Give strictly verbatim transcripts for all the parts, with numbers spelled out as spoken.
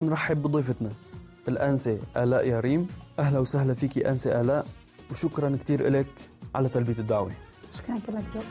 نرحب بضيفتنا الأنسة آلاء ياريم. أهلا وسهلا فيكي أنسة آلاء، وشكرا كتير إلك على تلبية الدعوة. شكرا لك زوج.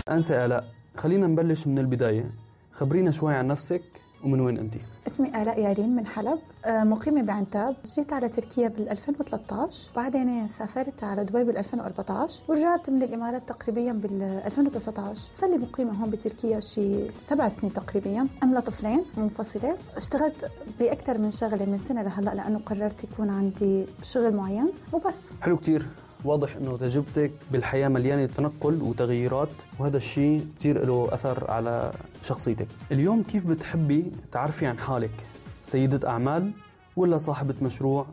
أنسة آلاء، خلينا نبلش من البداية. خبرينا شوي عن نفسك ومن وين أنتي؟ اسمي آلاء ياريم من حلب، مقيمة بعنتاب. جيت على تركيا بال ألفين وثلاثة عشر، بعدين سافرت على دبي بال ألفين وأربعة عشر، ورجعت من الإمارات تقريبا بال ألفين وتسعة عشر. صار لي مقيمة هون بتركيا شي سبع سنين تقريبا، أملا طفلين منفصلة. اشتغلت بأكثر من شغلة من سنة لهلا لأنه قررت يكون عندي شغل معين وبس. حلو كتير. واضح انه تجربتك بالحياة مليانة تنقل وتغييرات، وهذا الشيء كتير له اثر على شخصيتك. اليوم كيف بتحبي تعرفي عن حالك؟ سيدة اعمال ولا صاحبة مشروع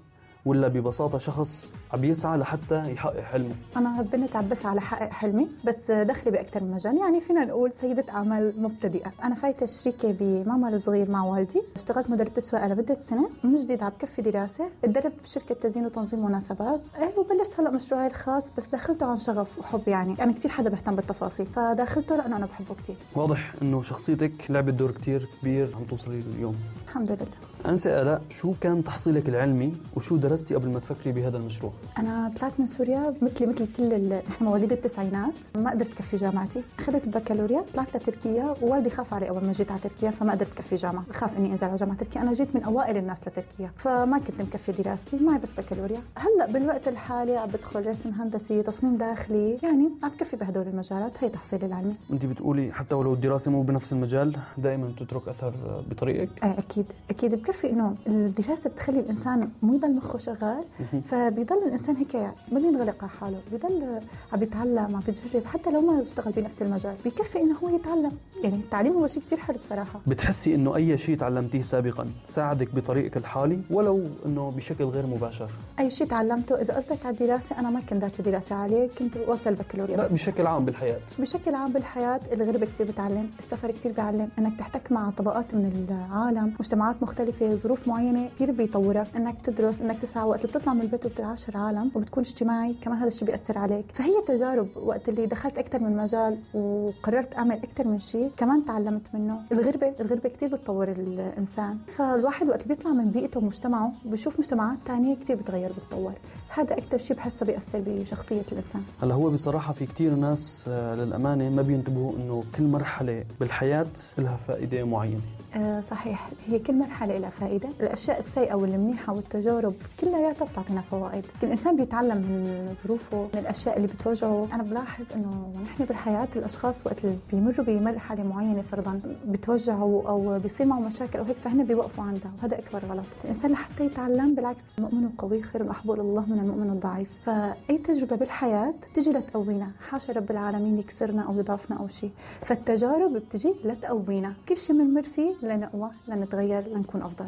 ولا ببساطة شخص عم يسعى لحتى يحقق حلمه؟ أنا بنت عم بسعى لحقق حلمي، بس دخلي بأكثر من مجال. يعني فينا نقول سيدة أعمال مبتدئة. أنا فايتة شريكة بمعمل صغير مع والدي. اشتغلت مدربة تسويق لمدة سنة، من جديد عم بكفي دراسة. اتدربت بشركة تزيين وتنظيم مناسبات، ايه وبلشت هلأ مشروعي الخاص، بس داخلته عن شغف وحب. يعني أنا كتير حدا بهتم بالتفاصيل، فداخلته لأنه أنا بحبه كتير. واضح إنه شخصيتك لعبت دور كتير كبير عم توصلي اليوم. الحمد لله. أنسة آلاء، شو كان تحصيلك العلمي وشو درستي قبل ما تفكري بهذا المشروع؟ أنا طلعت من سوريا مثلي مثل كل ال... نحن مواليد التسعينات، ما قدرت كفي جامعتي. أخذت البكالوريا، طلعت لتركيا، ووالدي خاف علي أول ما جيت على تركيا، فما قدرت كفي جامعة، خاف إني أنزل على جامعة تركيا. أنا جيت من أوائل الناس لتركيا، فما كنت مكفي دراستي، معي بس بكالوريا. هلأ بالوقت الحالي عم بدخل رسم هندسي، تصميم داخلي، يعني عم بكفي بهدول المجالات. هي تحصيلي العلمي. أنت بتقولي حتى ولو الدراسة مو بنفس المجال دائما تترك أثر بطريقك؟ آه أكيد أكيد بكفي. إنه الدراسة بتخلي الإنسان مو يضل مخه شغال، فبيضل الإنسان هيك ما بينغلق على حاله، بيضل عم بيتعلم، عم بيجرب، حتى لو ما اشتغل بنفس المجال بيكفي إنه هو يتعلم. يعني التعليم هو شيء كتير حلو بصراحة. بتحسي إنه أي شيء تعلمتيه سابقا ساعدك بطريقك الحالي ولو إنه بشكل غير مباشر؟ أي شيء تعلمته، إذا قصدك على الدراسة، أنا ما كنت دارسة دراسة عالية، كنت وصل البكالوريا. لا، بشكل عام بالحياة. بشكل عام بالحياة الغربة كتير بتعلم، السفر كتير بيعلم، إنك تحتك مع طبقات من العالم، مجتمعات مختلفة، ظروف معينة كتير بيطورك. إنك تدرس، إنك تسعى، وقت اللي بتطلع من البيت وبتعاشر عالم وبتكون اجتماعي كمان، هذا الشيء بيأثر عليك. فهي تجارب. وقت اللي دخلت أكتر من مجال وقررت أعمل أكتر من شيء كمان تعلمت منه. الغربة الغربة كتير بتطور الإنسان، فالواحد وقت اللي بيطلع من بيئته ومجتمعه بيشوف مجتمعات تانية كتير بتغير بتطور. هذا أكتر شيء بحسه بيأثر بشخصية الإنسان. هلا هو بصراحة في كتير ناس للأمانة ما بينتبهوا إنه كل مرحلة بالحياة لها فائدة معينة. أه صحيح، هي كل مرحلة لها فائدة. الأشياء السيئة والمنيحة والتجارب كلها بتعطينا فوائد. الإنسان بيتعلم من ظروفه، من الأشياء اللي بتواجهه. أنا بلاحظ إنه نحن بالحياة الأشخاص وقت اللي بيمروا بمرحلة معينة فرضاً بتوجعوا أو بيصير معه مشاكل أو هيك، فهن بيوقفوا عندها، وهذا أكبر غلط. الإنسان لحتى يتعلم، بالعكس، المؤمن القوي خير محبوب الله من المؤمن الضعيف. فأي تجربة بالحياة تجي لتقوينا، حاشا رب العالمين يكسرنا أو يضعفنا أو شيء. فالتجارب بتجي لتقوينا، كل شيء بنمر فيه لنقوى، لنتغير، لنكون أفضل.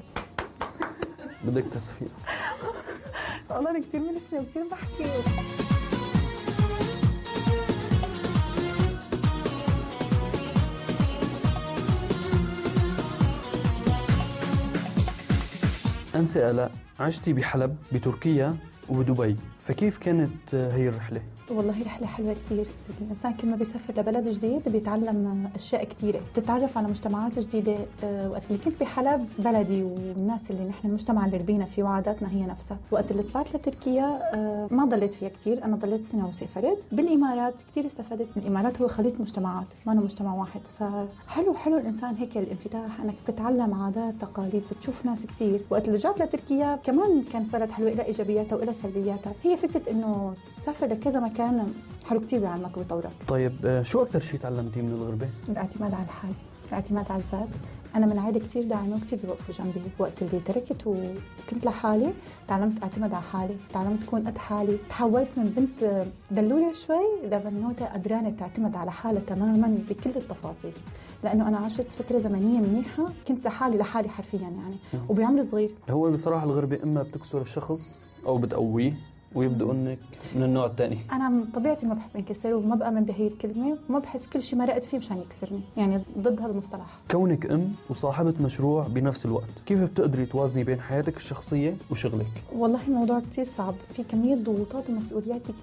بدك تصفيق. والله أنا كتير منسنة وكتير بحكي. أنسة آلاء، عشتي بحلب بتركيا وبدبي، فكيف كانت هي الرحلة؟ والله رحلة حلوة كتير. الإنسان كل ما بيسافر لبلد جديد بيتعلم أشياء كتيرة، تتعرف على مجتمعات جديدة. أه وقت اللي كنت بحلب بلدي والناس اللي نحن المجتمع اللي ربينا فيه وعاداتنا هي نفسها. وقت اللي طلعت لتركيا أه ما ضليت فيها كتير، أنا ضليت سنة وسافرت. بالإمارات كتير استفدت من الإمارات، هو خليط مجتمعات، ما أنا مجتمع واحد. فحلو حلو الإنسان هيك الانفتاح، أنك تتعلم عادات تقاليد، بتشوف ناس كتير. وقت اللي رجعت لتركيا كمان كانت بلد حلوة، إلى إيجابياتها وإلى سلبياتها. هي فكرة إنه تسافر لكذا مكان حلو كتير بيعلمك وبيطورك. طيب شو أكتر شيء تعلمتيه من الغربة؟ الاعتماد على الحال، الاعتماد على الذات. أنا من عائلة كتير داعمة وكتير بيوقفوا جنبي. وقت اللي تركت وكنت لحالي تعلمت أعتمد على حالي، تعلمت أكون قد حالي. تحولت من بنت دلولة شوي لبنوتة قدرانة تعتمد على حالها تماماً بكل التفاصيل، لأنه أنا عشت فترة زمنية منيحة كنت لحالي لحالي حرفياً يعني، وبعمر صغير. هو بصراحة الغربة إما بتكسر الشخص أو بتقويه، ويبدأ انك من النوع الثاني. انا من طبيعتي ما بحب انكسر وما بامن بهي الكلمه وما بحس كل شيء مرقت فيه مشان يكسرني، يعني ضد هذا المصطلح. كونك ام وصاحبه مشروع بنفس الوقت، كيف بتقدري توازني بين حياتك الشخصيه وشغلك؟ والله الموضوع كتير صعب، في كميه ضغوطات ومسؤوليات